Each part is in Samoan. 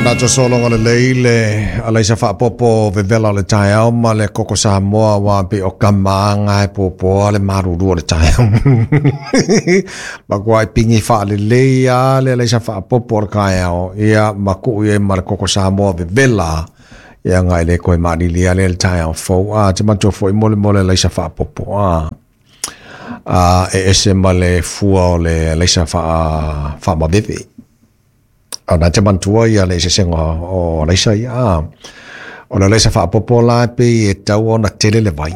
Manatu sologa lelei le alaisa faapopo vevela o le taeao ma le koko Samoa aua pei o kama e puapuoa le malulu o le taeao. Matua pigi faalelei lava le alaisa faapopo o le taeao, ia ma tuu i ai ma le koko Samoa vevela, ia ga e le toe maalili lea le taeao fou. A te manatua foi mo le alaisa faapopo a e ese ma le fua o le alaisa faamaveve. O na te manatua ia le eseesega o alaisa ia. O le alaisa faapopo la pei e tau ona tele le vai.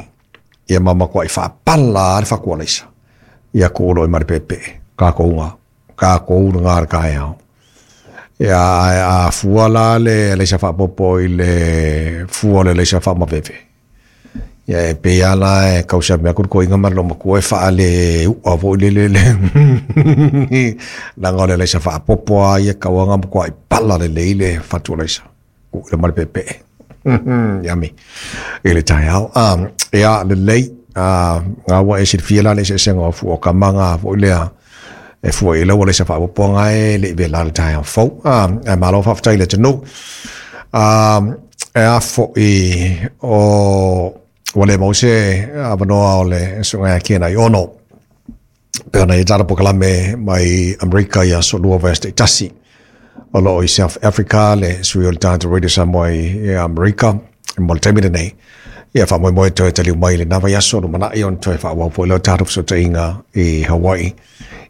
Ia ma matuai faapala le fatu alaisa. Ia tuu loa ma le peepee. Kākou ngā le taeao. Ia a fua la le alaisa faapopo i le fua o le alaisa faamaveve. Ia e pei ala e kausa mea kuru koinga ma lo matua e whaale ua fo i le le. Langa o le alaisa faapopo a ia kauanga matua i pala le leile fatu alaisa. Ku le male pepe. Yummy. I le taeao. Ia le lei ngā ua e silafia la le eseesega o fua o kama ngā foi lea e fua i lau alaisa faapopo ngā e le i vela le taeao fou. E malo faafetai le atunuu. E a foi o ua le mau se avanoa o le susuga ia Ken Aiono pe ona i tala polokalame mai Amerika i aso 2 vaiaso taitasi. O loo i South Africa le sui o le tatou Radio Samoa i Amerika mo le taimi lenei. Ia faamoemoe toe taliu mai lena vaiaso lumanai ona toe faaauau foi lea o tatou fesootaiga i Hawaii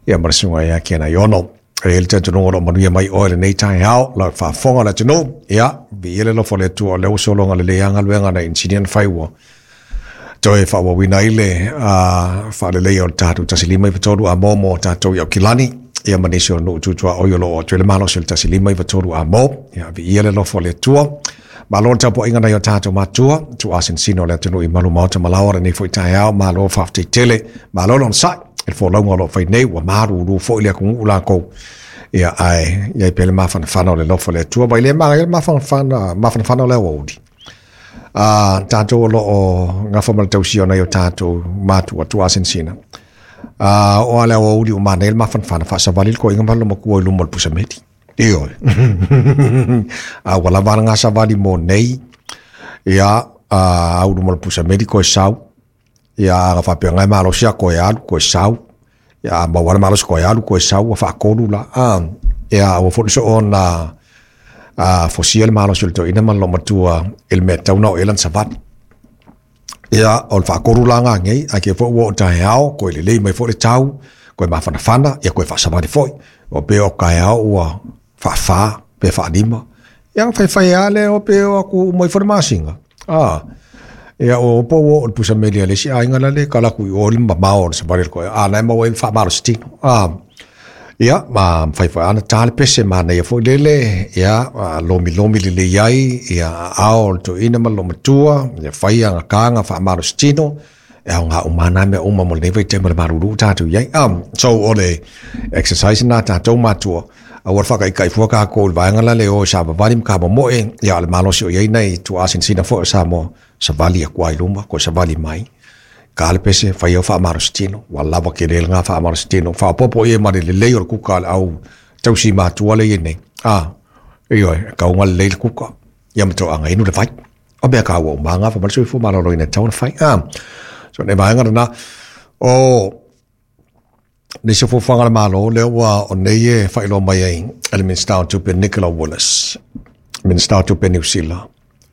ia ma le susuga ia Ken Aiono. E i ai le talitonuga o lo o manuia mai oe lenei taeao, lau faafofoga le atunuu. Ia, viia le alofa o le Atua o lea ua sologa lelei lava galuega na inisinia na fai ua toe faaauauina ai le faaleleia o le tatou 1593 a mo mo tatou i Aukilani, ia ma nisi o nuu tutuaoi o lo o atu ai le malosi o le 1593 a mo. Ia, viia le alofa o le Atua. Malo le tapuaiga nai o tatou matua, tuuasinasina o le atunuu i malu maota ma laoa lenei foi taeao, malo faafetai tele, malo le onosai, i le folauga o lo o fai nei, ua malulu foi le atunuu lakou. Ia, ae i ai pea le mafanafana o le alofa o le Atua, mai le manaia le mafanafana, mafanafana o le aoauli. Tatou o lo o gafa ma le tausia o nai o tatou matua, tuuasinasina. O a le aoauli ua manaia le mafanafana, faasavali le toeaina ma le matua i luma o le pusameli. Ioe. A ua lava ngā savali mo nei, ia, au luma o le pusameli koe sau, ia, aga faapea ngai malosi a koe alu, koe sau, ia, a maua le malosi koe alu, koe sau, ua faatolu la, ia, ua foi soo ona fosia le malosi o le toeaina ma le loomatua i le mea tatau ona oo i ai lana savali. Ia, o le faatolu la ngā nei, ae ke foi ua oo taeao, koe lelei mai foi le tau, koe mafanafana, ia koe faasavali foi. O pe o taeao ua faafa, pe faalima. Ia, faifai lava lea o pe o atu uma ifo le masina. Ia, o po ua oo le pusameli a le isi aiga la le tala atu i o le mamao o le savali o le koe. A, na e maua ai le faamalosi tino. Ia, ma mafai foi ana ta le pese manaia foi lele, ia, lomilomi lelei ai, ia, aao o le toeaina ma le loomatua, ia fai agataga faamalosi tino, e aoga uma lava na mea uma mo lenei vaitaimi o le malulu tatou i ai. So, o le exercise na tatou matua, aua le faataitai fua tatou i le vaega la le o i savavali ma tamomoe, ia, o le malosi o i ai nai tuuasinasina foi o Samoa, savali atu lava i luma, toe savali mai. Ka le pese, fai au faamalositino, ua lava tele lena faamalositino, faaopoopo i ai ma le lelei o le kuka a le au tausi matua lea e i ai nei. Ioe, e tau ona lelei le kuka, ia ma toaga inu le vai. O mea taua uma lava na, fai mai le soifua maloloina e tatau ona fai. So o le vaega lena, o nisi o fuafuaga a le Malo, lea ua o nei e faailoa mai ai e le Minisita o Tupe Nicola Willis, Minisita o Tupe Niu Sila,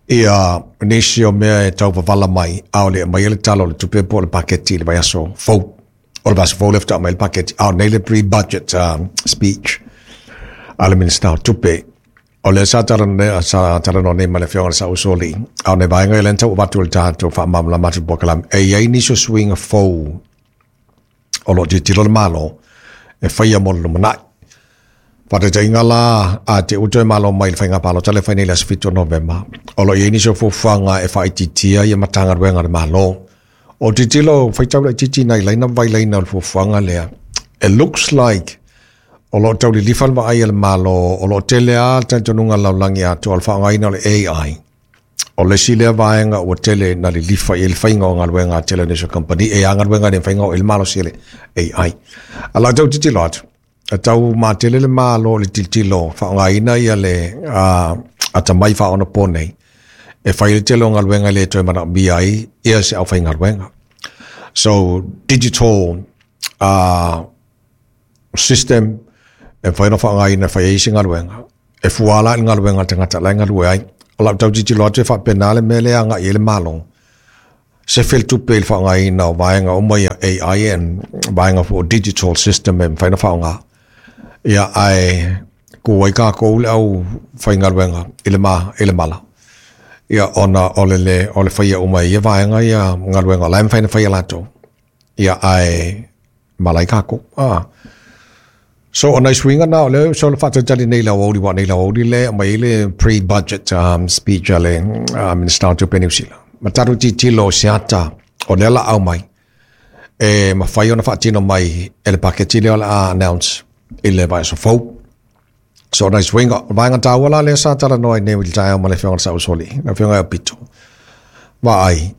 ia nisi o mea e tau wavala mai, a o le aumai le tala o le tupe po o le paketi i le vaiaso fou. O le vaiaso fou lea faatoa aumai le paketi, a o nei le pre-budget speech a le Minisita o Tupe. O lea sa talanoa nei ma le Afioga i le Saʻusoalii, a o nai vaega ia lea na tau avatu e le tatou faamalamalama atu i le polokalame, e i ai nisi o suiga fou o lo o tilotilo le Malo e faia mo le lumanai. Faataitaiga la, a te ua toe malo mai i le faiga palota lea e fai nei i le aso 7 o Novema, o lo o i ai nisi o fuafuaga e faaitiitia ia Matagaluega a le Malo. O tilotilo, faitau laitiiti nai laina ma vailaina o le fuafuaga lea, it looks like o lo o tau lilifa le vaai a le Malo, o lo o tele lava le talitonuga a le lalolagi atoa o le faaaogaina o le AI. O le isi lea vaega ua tele na lilifa i ai le faiga o galuega a tele o nisi o kamupani, e a galuega e le mafai ona oo i ai le malosi o le AI. A o lau tau tilotilo atu, E tau matele le Malo i le tilotilo faaaogaina ia le atamai faaonaponei e fai ai le tele o galuega e le toe manaomia ai ia se aufaigaluega. So digital system e mafai ona faaaogaina e fai ai se galuega, e fua la i le galuega a le tagata la e galue ai. O lau tau tilotilo atu e faapena le mea lea e agai i ai le Malo, sefe le tupe i le faaaogaina o vaega uma ia AI and vaega foi o digital system e mafai ona faaaoga. Ia ae tu ai tatou le aufaigaluega i le ma i le mala. Ia ona o le le o le faia uma e ia vaega ia galuega o la e mafai ona fai e latou. Ia ae mala ai tatou. Ah. So o nai suiga na o lea so le faatalitali nei i le aoauli aua nei le aoauli lea e aumai ai le pre-budget speech a le Minisita o Tupe a Niu Sila. Ma tatou tilotilo i se ata o lea o le a aumai e mafai ona faatino mai e le paketi lea o le a announce i le vaiaso fou. So o nai suiga, o le vaega taua la lea sa talanoa ai nei i le taeao ma le Afioga i le Sausoli, le Afioga ia Aupito. Vaai,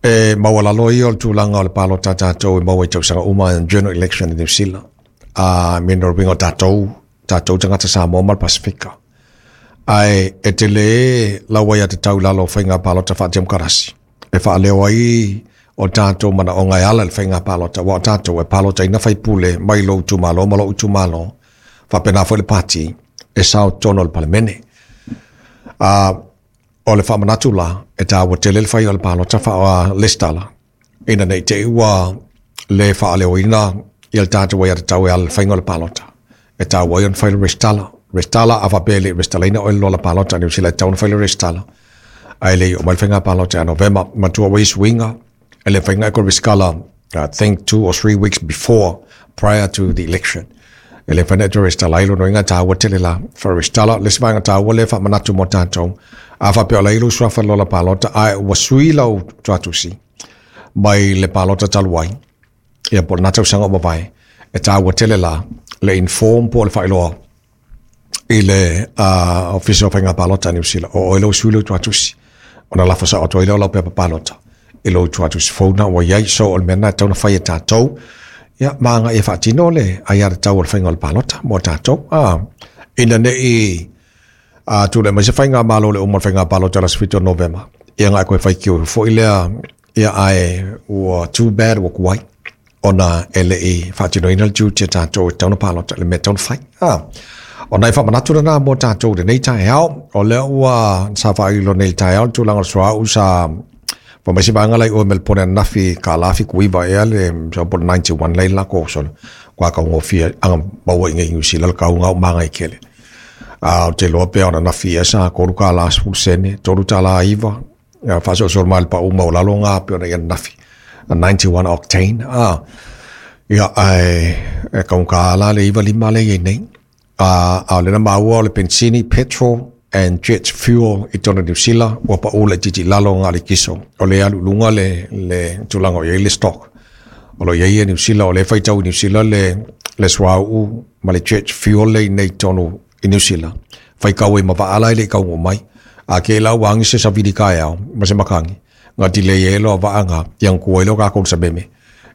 e maualalo ia o le tulaga o le palota a tatou e maua i tausaga uma general election i Niu Sila. A me no uiga o tatou, tatou tagata Samoa ma le Pasefika. Ae e tele lau aiatatau i lalo o faiga palota faatemokarasi e faaleo ai o tatou manaoga e ala i le faiga palota, aua o tatou e palotaina faipule mai lou itumalo ma lou itumalo, faapena foi le pati e sao i totonu o le Palemene. A o le faamanatu la, e taua tele le fai o le palota faa-resitala, ina ne i te i ua le faaleoina ia le tatou aiatatau e ala i le faiga o le palota. E taua ai ona fai le resitala. Resitala, a faapea e le i resitalaina oe i le lola palota a Niu Sila, e tatau ona fai le resitala. Ae le i oo mai le faiga palota ia Novema. Matua ua i ai suiga, e le mafai ona e toe resitala, I think 2 or 3 weeks before, prior to the election. E le mafai ona e toe resitala ai, lona uiga e taua tele la. Faa-resitala, le isi vaega taua lea e faamanatu mo tatou, a faapea o la e i lou suafa i le lola palota, ae ua sui lau tuatusi mai le palota talu ai, ia po o lena tausaga ua mavae, e taua tele la le inform po o le faailoa i le Ofisa o Faiga Palota a Niu Sila, o oe lea ua sui lou tuatusi, ona lafo sao atu ai lea o lau pepa palota i lou tuatusi fou na ua i ai. So o le mea lena e tatau ona fai e tatou, ia ma agai e faatino le aiatatau o le faiga o le palota mo tatou. Ina ne i tulai mai se faigamalo i le uma o le faiga palota i le aso 7 o Novema, ia ona e toe faitio foi lea, ia ae ua too bad ua tuai ona e le i faatinoina le tiute a tatou e tatau ona palota i le mea e tatau ona fai. O nai faamanatu lena mo tatou i lenei taeao. O lea ua sa faailo nei i le taeao le tulaga o le suauu sa fai mai se vaega la i o i Melipone ananafi $1.79 ea le sau po o le 91 lea i le latou solo. Ua taugofie aga maua i nei Niu Sila le tau na o magai tele. A ou te iloa pe o ananafi ea sa $3.10, $3.09, ia faasolosolo mai le pau maualalo na pei ona i ananafi. 91 octane. Ia, ae e taugata la le 95 lea e i ai nei. A o lea na maua o le penisini, petrol and jet fuel i totonu o Niu Sila, ua pau laitiiti i lalo na o le kiso. O lea e alu i luga le tulaga o i ai le stock. O lo o i ai Niu Sila, o lea e faitau i Niu Sila le suauu ma le jet fuel lea i nei totonu i Niu Sila. Faitau ai ma vaa la e le i taunuu mai. A ke la ua agi se savili taeao ma se matagi, na delay ai loa vaa na, ia na tu ai loa tatou i le sameme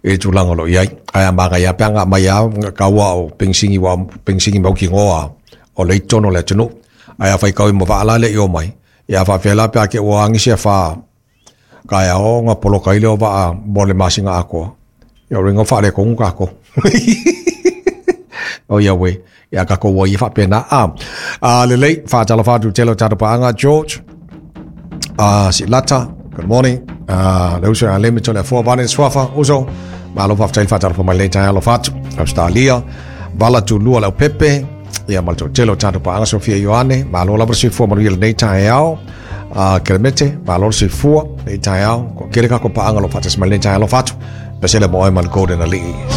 i le tulaga o lo o i ai. Ae a manaia lava pe ana aumai lava tau a o penisini aua o penisini mautinoa lava o lea e i totonu o le atunuu. Ae a faitau ai ma vaa la e le i omai, ia a faapefea la pe a te i ua agi se afa taeao ona poloka ai lea o vaa mo le masina atoa. Ia o lona uiga ua faaletonu tatou. O ia uē, ia tatou o ai ia faapena. Lelei, faatalofa atu i le tele o tatou paaga, George, Silata, good morning. Le uso ia Lemi Toleafoa, Vane Suafa, uso, malo faafetai le faatalofa mai lenei taeao alofa atu. Australia, Vala Tulua Leaupepe, ia ma le toatele o tatou paaga, Sofia Ioane, malo lava le soifua manuia lenei taeao. Kelemete, malo le soifua lenei taeao. Toatele tatou paaga o lo o faatasi mai lenei taeao alofa atu. Pesele mo oe ma le Golden Alii.